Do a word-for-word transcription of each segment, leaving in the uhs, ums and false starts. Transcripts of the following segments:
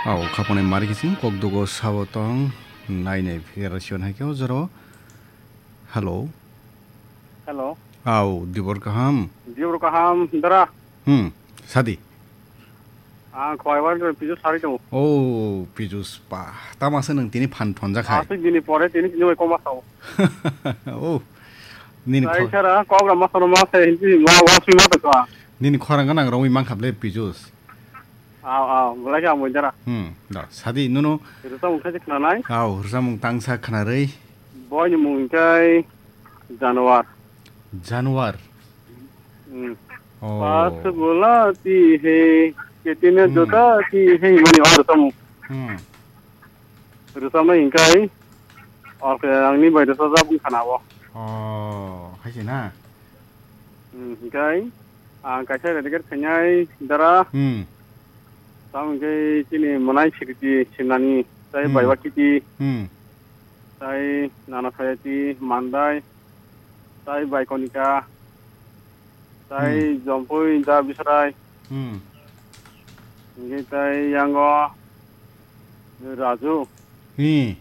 Au, khaponi mari kiching kokdugo sabo tong, nainai phikera siyon hai khe o joro. Hello. Hello. Au, dibor kaham? Dibor kaham, dara. Hmm, sadi. Ang khwai wan Pijus sari tongo. Oh, Pijus pa. Tama se nwng tini phan thonjak hai. Asik bini pore tini sini wai koma sao. Oh. Nini Sai khor- sara kok rama sono ma se hinti ma wa sui ma to ka. Nini khorang ganang rongwi mangkhap le Pijus. Aw, aw, belai khe amoi dara. Hmm, da, sadi, nunu. Rwchapmung khe se khwnanai? Aw, rwchapmung tangsa khwnarwi. Boini mung khe Januar. Januar? Hmm. Oh. Pass bulati hai, kitne Hmm. jotati hai, mani o rwchapmung. Hmm. Rwchapnai hinkhe, o khe angni bai rwchapjak wngkha na o. Oh, hai se na? Hmm, hinkhe, ang kaisa dedicate khainai dara. Hmm. Tamo hinkhe chini mwnai Sriti Simnani, tai Hmm. Baiwa Kiti, Hmm. tai Nana Sayati, Mandai, tai Baikonika, tai Hmm. Jompui Da Bisrai. Hmm. Hinkhe tai yango Raju. Hmm.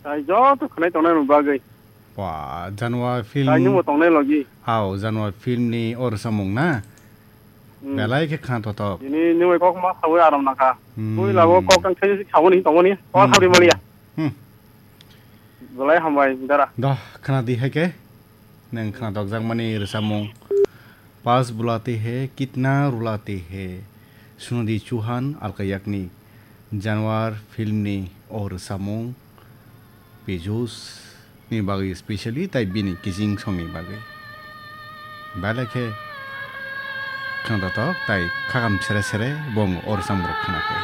Tai joto khwnai tongnai rok bagwi. Ba, Januar film. Tai nwngbo tongnai logi. Hao, Januar film ni o rwchapmung na? Hmm. Belai khe khna totok. Tini nwngwi kok ma sawi aram nangkha. Hmm. Puila bo kok tang sai sawi ni tongmani. Kok Hmm. sawi maliya. Hmm. Belai hambai dara. Doh, khna di hai khe. Nwng khna dokjakmani rwchapmung. Pass bulati hai, kitna rulati hai. Sunodi Chauhan, Alka Yagnik. Januar film ni o rwchapmung. Pijus ni bagwi specially tai bini kiching song ni bagwi. Belai khe khna totok tai khakam sere sere bo o rwchapmung rok khna khe.